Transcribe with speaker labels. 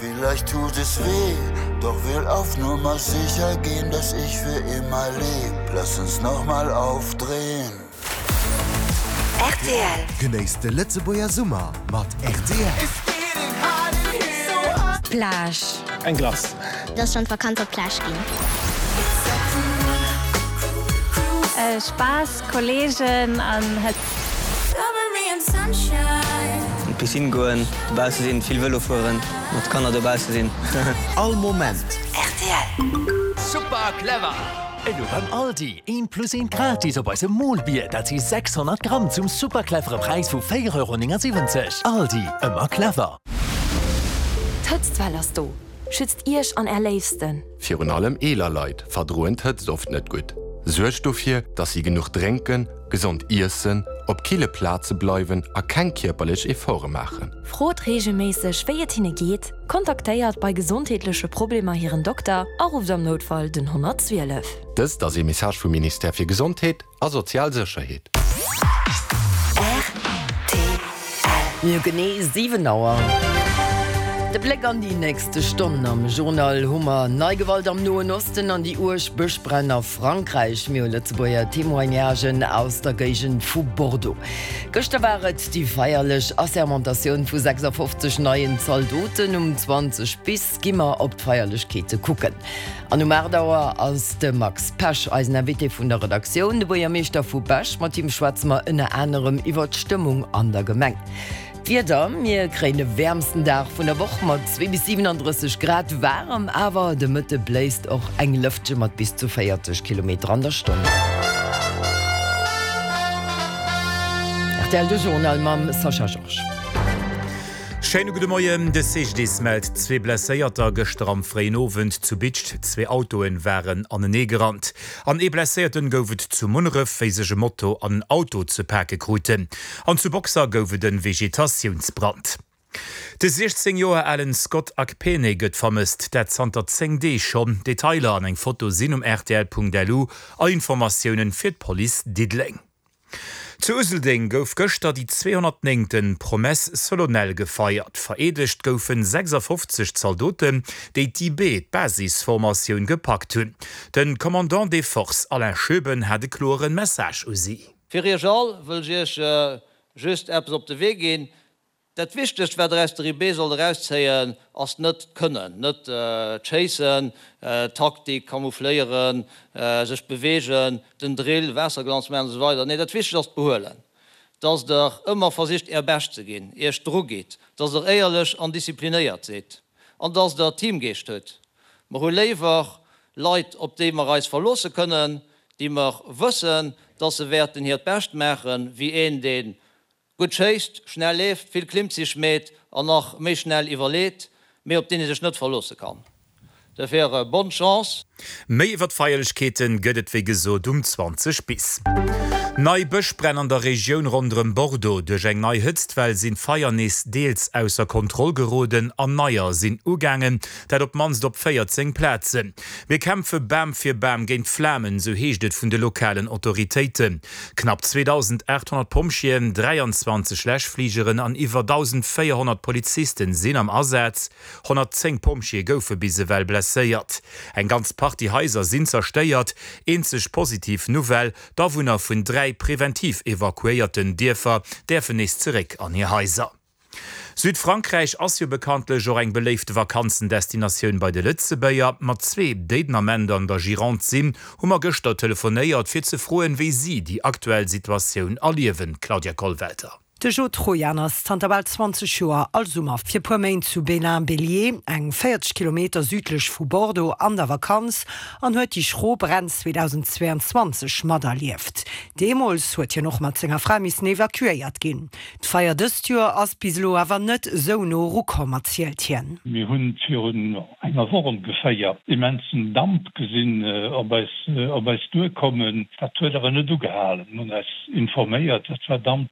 Speaker 1: Vielleicht tut es weh, doch will auf Nummer sicher gehen, dass ich für immer leb. Lass uns noch mal aufdrehen.
Speaker 2: Rtl.
Speaker 3: Genéisst de Lëtzebuerger Summer mat rtl.
Speaker 4: Plage.
Speaker 5: Eng Glace.
Speaker 6: Et ass schonn d'Vakanz op d'Plage ginn.
Speaker 4: Spaass, Kolleegen an Hëtzt.
Speaker 7: An d'Piscine goen, dobausse sinn, vill Vëlo fueren, mat Kanner dobausse sinn.
Speaker 3: All Moment.
Speaker 2: Rtl.
Speaker 8: Super clever! Elo beim Aldi, eent plus eent gratis op eisem Molbier, dat si 600 Gramm zum super clevere Präis vu 4,79 Euro. Aldi, ëmmer clever!
Speaker 9: D'Hëtztwell ass do! Schützt Iech an Är Léifsten!
Speaker 10: Virun allem eeler Leit verdroen d'Hëtzt oft net gutt. Suergt dofir, dass si genuch drénken, gesond iessen, op kille Plaze bleiwen a keng kierperlech Efforte maachen.
Speaker 9: Frot reegelméisseg, wéi et hinne geet, kontaktéiert bei gesondheetleche Problemer hiren Dokter a rufft am Noutfall den 112.
Speaker 10: Dëst ass ee Message vum Ministère fir Gesondheet a sozial Sécherheet.
Speaker 2: Rtl.
Speaker 11: Mir hu genee 7 Auer. De Bléck an déi nächste Stonn. Am Journal hu mer nei Gewalt am Noen Osten an déi uerg Bëschbränn a Frankräich. Mir hu Lëtzebuerger Témoignagen aus der Géigend vu Bordeaux. Gëschter war et déi feierlech Assermentatioun vu 56 neien Zaldoten. Um 20 bis gi mer op d'Feierlechkeete kucken. An um 8 Auer ass de Max Pesch eisen Invité vun der Redaktioun, de Buergermeeschter vu Bech. Mat him schwätze mer ënner anerem iwwer d'Stëmmung an der Gemeng. D'Wieder, Mir kréien de wäermsten Dag vun der Woch mat 2 bis 37 Grad waarem, awer de Mëtte bléist och eng Lëftche mat bis zu 40 Kilometer an der Stonn. Rtl De Journal mam Sascha Georges.
Speaker 12: Schéine gudde Moien. De CGDIS mellt zwee Blesséierter gëschter am fréien Owend zu Bidscht. Zwee Autoe waren anenee gerannt. An ee Blesséierten gouf et zu Munneref, wéi sech e Moto an en Auto ze pake kruten. An zu Boxer gouf et e Vegetatiounsbrand. De 16 Joer alen Scott Akpene gëtt vermësst, dat zanter 10 Deeg schonn. Detailer an eng Foto sinn um rtl.lu. All Informatiounen fir d'Police Diddeleng. Zu Useldeng gouf gëschter déi 209. Promesse solennelle gefeiert. Vereedegt goufen 56 Zaldoten, déi d'IB, d'Basisformatioun, gepackt hunn. De Commandant des Forces Alain Schoeben hat e kloeren Message u si.
Speaker 13: Fir Iech all wëll ech Iech just eppes op de Wee ginn, Dat Wichtegst, wat der aus der IB sollt erauszéien, ass net d'Kënnen, net d'Schéissen, d'Taktik, Camoufléieren, sech beweegen, den Drill, Waasserglanz maachen an esou weider. Nee, dat Wichtegst ass d'Behuelen, dass der ëmmer versicht Är Bescht ze ginn, Iech drugitt, dass der éierlech an disziplinéiert sidd an dass der Teamgeescht hutt. Mer hu léiwer Leit, op déi mer eis verloosse kënnen, déi mer wëssen, dass se wäerten hiert Bescht maachen, wéi een, dee Gutt schéisst, schnell leeft, vill Klimmzich meet an nach méi schnell iwwerleet, mee op deen ee sech net verloosse kann. Dofir bonne Chance!
Speaker 12: Méi iwwer d'Feierlechkeeten gëtt et wéi gesot um 20 bis. Nei Bëschbränn an der Regioun ronderëm Bordeaux. Duerch eng nei Hëtztwell sinn d'Feier nees deels ausser Kontroll geroden an neier sinn ugaangen, dat op d'mannst op 14 Plazen. Mir kämpfe Bam fir Bam géint d'Flamen, sou heescht et vun de lokalen Autoritéiten. Knapp 2.800 Pompjeeën, 23 Läschfligeren an iwwer 1.400 Polizisten sinn am Asaz. 110 Pompjeeë goufe bis ewell blesséiert. Eng ganz Partie Haiser sinn zerstéiert. Eenzeg positiv Nouvelle, D'Awunner vun 3 preventiv evakuéierten Dierfer däerfen nees zeréck an hir Haiser. Südfrankräich ass jo bekanntlech och eng beléifte Vakanzendestinatioun bei de Lëtzebuerger. Mat zwee, déi den Ament an der Gironde sinn, hu mer gëschter telefonéiert, fir ze froen, wéi si déi aktuell Situatioun erliewen. Claudia Kollwelter.
Speaker 14: De Jo Trojan ass zanter bal 20 Joer all Summer fir puer Méint zu Belin-Béliet, eng 40 Kilometer südlech vu Bordeaux, an der Vakanz an huet déi schro Bränn 2022 materlieft. Deemools huet hien och mat senger Fra missen evakuéiert ginn. D'Feier dëst Joer ass bis elo awer net esou no erukomm, erzielt hien.
Speaker 15: Mir hunn virun enger Woch ongeféier immensen Damp gesinn op eis op eis duerkommen. Dat huet awer net ugehalen. Mir hunn eis informéiert, dat war Damp.